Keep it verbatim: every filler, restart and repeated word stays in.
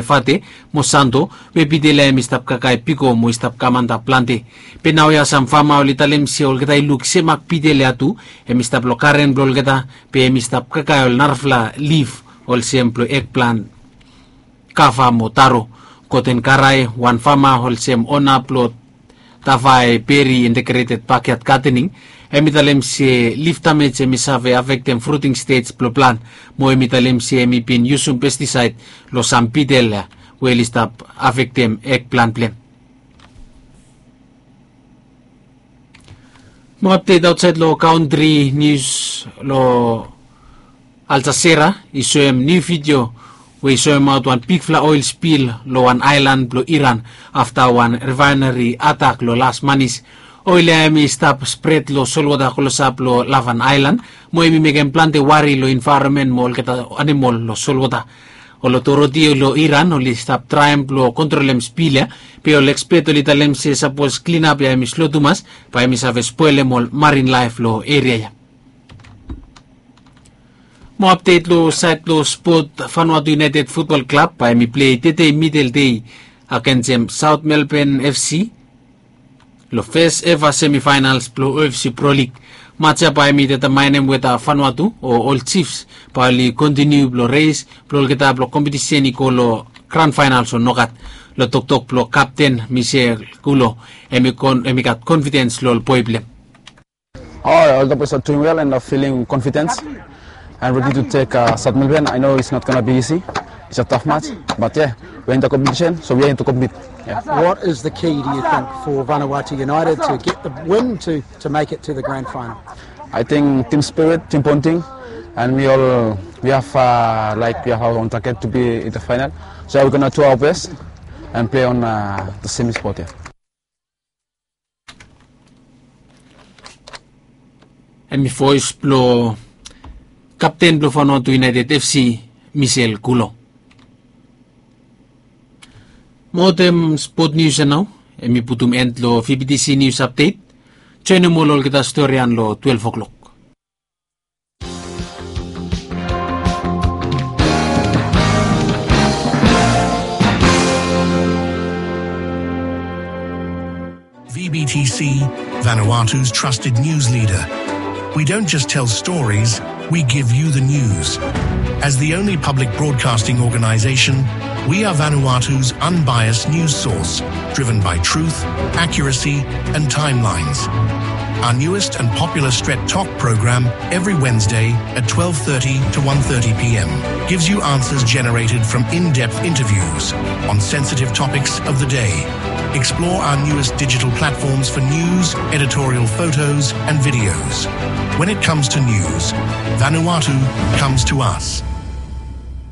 Fate mo Santo, we bitel ya hemi stap kakae piko mo i stap kam antap plante. Be naoia sam fama oli talem se olgeta i luk semak bitel ya tu, hemi stap lo garen blo olgeta, be hemi stap kakae ol narafala lif olsem blo ekplan, kava mo taro. Goten Karae, wan fama olsem ona blo Tavae Berry Integrated Backyard Gardening, hemi talem se lif damej hemi save afektem fruting stej blo plan, mo hemi talem se hemi bin yusum pestisaed lo sam bitel ya we oli stap afektem ekplan blem. Mo apdet aotsaed lo kantri nius lo Al Jazeera i soem niu vidio we i soemaot wan bigfala oel spil lo wan aelan blo Iran afta wan refaeneri atak lo las manis. Oel ya hemi stap spred lo solwota klosap lo Lavan aelan, mo hemi mekem plante wari lo envaeronmen mo olgeta animol lo solwota. Ol otoriti lo Iran oli stap traem blo kontrolem spil ya, be ol ekspet oli talem se sapos klinap ya hemi slo tumas, bae hemi save spolem ol marin laef lo eria ya. Mo apdet lo saed blo spot, Vanuatu United Futbol Klab bae hemi plei tede midel dei agensem South Melbourne FC lo fes eva semifaenals blo OFC Pro League. Maj ya bae hemi detamaenem weta Vanuatu o ol Chiefs bae oli kontiniu blo res blo olgeta blo kompetisen i go lo gran faenals o nogat. Lo toktok blo kapten Michel Kulo, hemi kon- hemi gat konfidens lo ol boe blem. Oh, all the boys are doing well and are feeling confident and ready to take uh, South Melbourne. I know it's not going to be easy. It's a tough match, but yeah, we're in the competition, so we're in to compete. Yeah. What is the key, do you think, for Vanuatu United to get the win to, to make it to the grand final? I think team spirit, team bonding, and we all we have uh, like we have our own target to be in the final. So we're gonna do our best and play on uh, the semi spot here. Hemi voes blo kapten blo Vanuatu United FC, Michel Kulo. Mo wetem spot nius ya nao, hemi putum end lo VBTC News Update. Joenem ol olgeta storian lo twelef o'klok. VBTC, Vanuatu's trusted news leader. We don't just tell stories, we give you the news. As the only public broadcasting organization, we are Vanuatu's unbiased news source, driven by truth, accuracy, and timelines. Our newest and popular Stret Talk program every Wednesday at twelve thirty to one thirty p.m. gives you answers generated from in-depth interviews on sensitive topics of the day. Explore our newest digital platforms for news, editorial photos, and videos. When it comes to news, Vanuatu comes to us.